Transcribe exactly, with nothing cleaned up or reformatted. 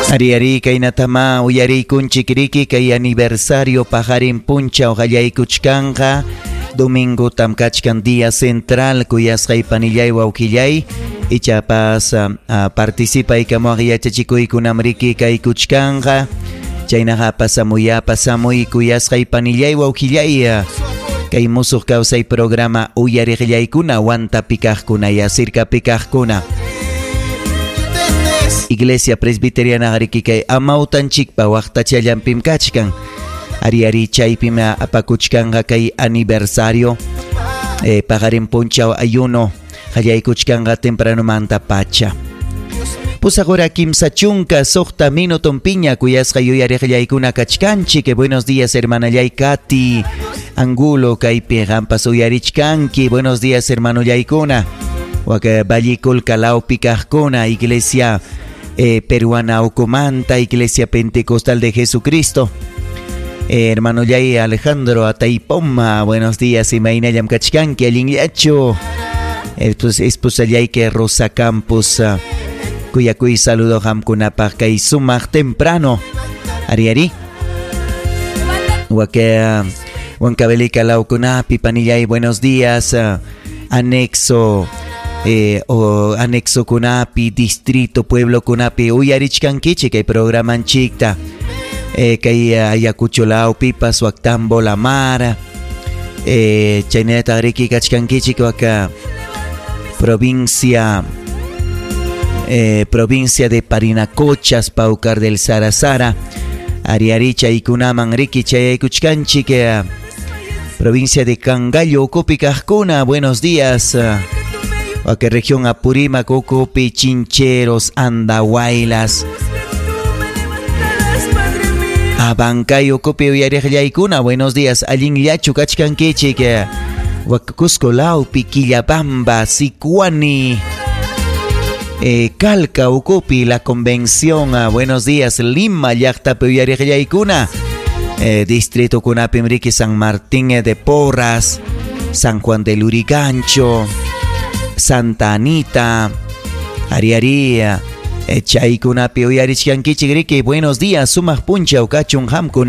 Ari ari kaynatama uyariykunchik riki kay aniversario paqarin punchaw qallaykuchkanqa domingo tam kachkan día central kuyasqay panillay wawqillay ichapas uh, participaykamuaq yachachikuykunam riki kaykuchkanqa chaynaqa pasamuy pasamuy kuyasqay panillay wawqillay kay musuq kawsay programa uyariqllaykuna Huantapi kaqkuna ya sirkapi kaqkuna. Iglesia Presbiteriana riki kay amawtanchikpa waqtachallampim kachkan. Ari ari chaypim apakuchkanqa kay aniversario eh, paqarin punchaw ayuno qallaykuchkanqa tempranomanta pacha. Pusaq hora kimsa chunka suqta minuton piña kuyasqa yuyariqllaykuna kachkanchik. Buenos días, hermanallay Katy Angulo kaypi qampas uyarichkanki. Buenos días, hermanollaykuna. Waka Vallicolca lawpi kaqkuna, Iglesia eh, Peruana Ucumanta, Iglesia Pentecostal de Jesucristo. Eh, hermano Yay Alejandro Ataipoma, buenos días, imaynallam kachkanki, allinllachu. Eh, pues, esposallayki Rosa Campos, uh, kuyakuy saludo qamkunapaq kay sumaq temprano. Ari ari. Waka Huancavelica lawkunapi panillay, buenos días. Uh, anexo eh, o anexo kunapi, distrito, pueblo kunapi, uyarichkankichik kay programanchikta. Eh, kay Ayacucho lawpipas, Huactambo La Mar, eh, chaynata riki kachkankichik waka provincia eh, provincia de Parinacochas, Paucar del Sarasara, Ariari chaykunaman riki chayaykuchkanchik, eh, provincia de Cangallo, ukupi kaqkuna, buenos días. Waka región Apurímac, ukupi, Chincheros, Andahuaylas. Abancay ukupi uyariqllaykuna, buenos días. Allinllachu kachkankichik. Waka Cusco lawpi, Quillabamba, Sicuani, eh, Calca ukupi, La Convención, ah, buenos días. Lima llaqtapi uyariqllaykuna. Eh, distrito kunapim riki San Martín de Porras, San Juan de Lurigancho, Santa Anita, Ari ari, eh, chaykunapi uyarichkankichik riki, buenos días, sumaq punchaw kachun qamkuna.